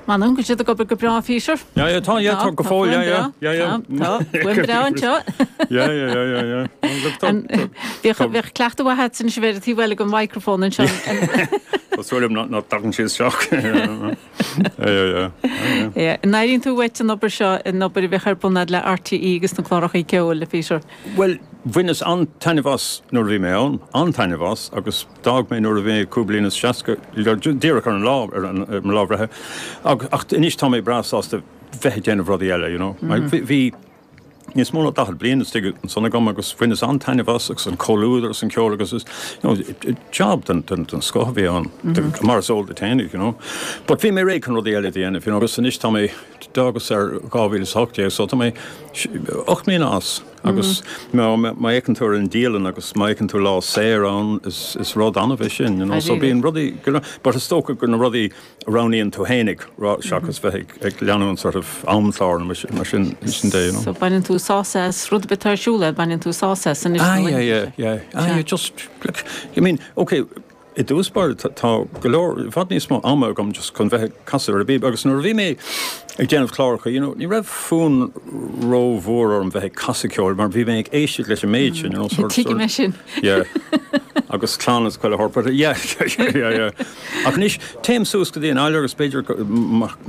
M'anam go bhfuil siad ag obair go breá, Peter. Yeah, yeah, tá, yeah, tá go fóill, yeah, yeah, yeah, yeah. Tá, tá, fuaim breá anseo. Yeah, yeah, yeah, yeah, yeah. Look, tá, tá. Bheadh, bheadh cleachtadh mhaith agat anois a bheith ar an taobh eile den mhicrophone anseo. Tá súil agam nach dtagann sé isteach. Yeah, yeah, yeah. Yeah. An airíonn tú uait an obair seo, an obair a bheadh ar bun agat le RTÉ agus na cláracha ceoil, a Peter? Bhuel, bhaineas an-taitneamh as nuair a bhí mé ann, an-taitneamh as, agus d'fhág mé nuair a bhí mé cúig bliana is 60, díreach ar an lá, ar mo lá breithe, ach anois tá mé breá sásta bheith ag déanamh rudaí eile, you know. Bhí níos mó ná 40 bliain istigh ansan agam agus bhaineas an-taitneamh as agus an comhluadar agus an ceol agus is, you know, job den, den, den scoth a bhí ann, mar is eol duit fhéinig, you know. But bhí mé réidh chun rudaí eile a dhéanamh, you know, agus anois tá mé, d'fhágas ar 2018 so tá mé 8 mbliana as agus má fhéachann tú ar an dialann agus má fhéachann tú lá saor ann is rud annamh é sin, you know, so bíonn rudaí, but is dócha gur na rudaí a roghnaíonn tú fhéinig seachas bheith ag leanúint sort of amchlár nó mar sin sin de, you know. So baineann tú sásamh as rud ar bith atá ar siúl agat, baineann tú sásamh as anois. Ah yeah, yeah, yeah, ah yeah, just, like, I mean, okay, I dtús báire tá go leor, i bhfad níos mó ama agam just chun bheith ag casadh ar an bpíb agus nuair a bhí mé ag déanamh cláracha, you know, ní raibh fonn rómhór orm bheith ag casadh ceoil mar bhí mé ag éisteacht leis an méid sin, you know, sort of, Tuigim é sin. Yeah. Agus clann is chuile shórt, but yeah, yeah, yeah. Ach anois, téim suas go dtí an fhaile agus b'fhéidir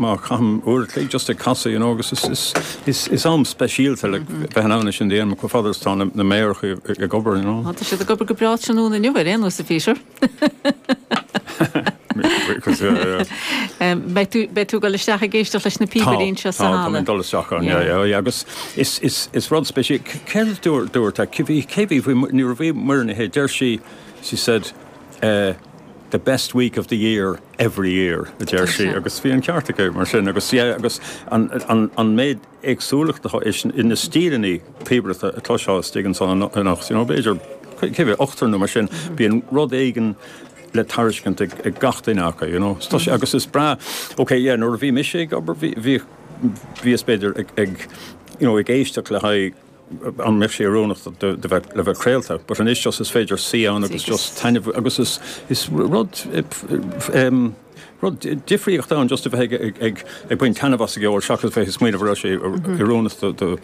má chaithim uair a chloig just ag casadh, you know, agus is, is, is, is am speisialta le bheith in ann é sin a dhéanamh chomh fada is atá na méaracha ag obair, you know. Tá siad ag obair go breá tráthnóna inniu ar aon nós, a Peter. Beidh tú, beidh tú ag dul isteach ag éisteacht leis na píobairí anseo sa halla. Tá, tá mé ag dul isteach ann, yeah, yeah, yeah, agus is, is, is rud speisialta, céard a dúirt, dúirt, cé bhí, cé bhí, nuair a bhí Muireann Ní Shé, deir sí, she said, eh, the best week of the year every year, a deir sí, agus bhí an ceart aici mar sin, agus yeah, agus an, an, an méid éagsúlacht atá i na stíleanna píobaireachta a chloisfeá istigh ansan anocht, you know, b'fhéidir, cé mhéad, ochtar nó mar sin, bíonn rud éigin le tairiscint ag, ag gach duine acu, you know. Tá sé, agus is breá, ok, yeah, nuair a bhí mise ag obair, bhí, bhí, bhíos b'fhéidir ag, ag, you know, ag éisteacht le haghaidh an mbeadh sé oiriúnach do, do bheith, le bheith craolta, but anois just is féidir suí ann agus just taitneamh, agus is, is rud, em, Rud difríocht ann just a bheith ag ag baint taitneamh as an gceol seachas bheith ag smaoineamh an raibh sé oiriúnach do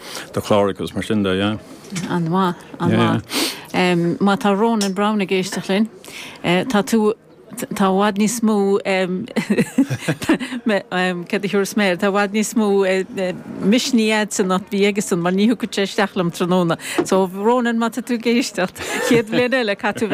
chlár agus mar sin de, yeah. An-mhaith, an-mhaith. Má tá Ronan Browne ag éisteacht linn, tá tú, tá i bhfad níos mó, céard a thiúrfas mé air, tá i bhfad níos mó misnigh a'dsa ná bhí aigesan mar ní thiocfadh sé isteach liom tráthnóna. So Ronan, má tá tú ag éisteacht, chéad bhliain eile, caithfidh tú.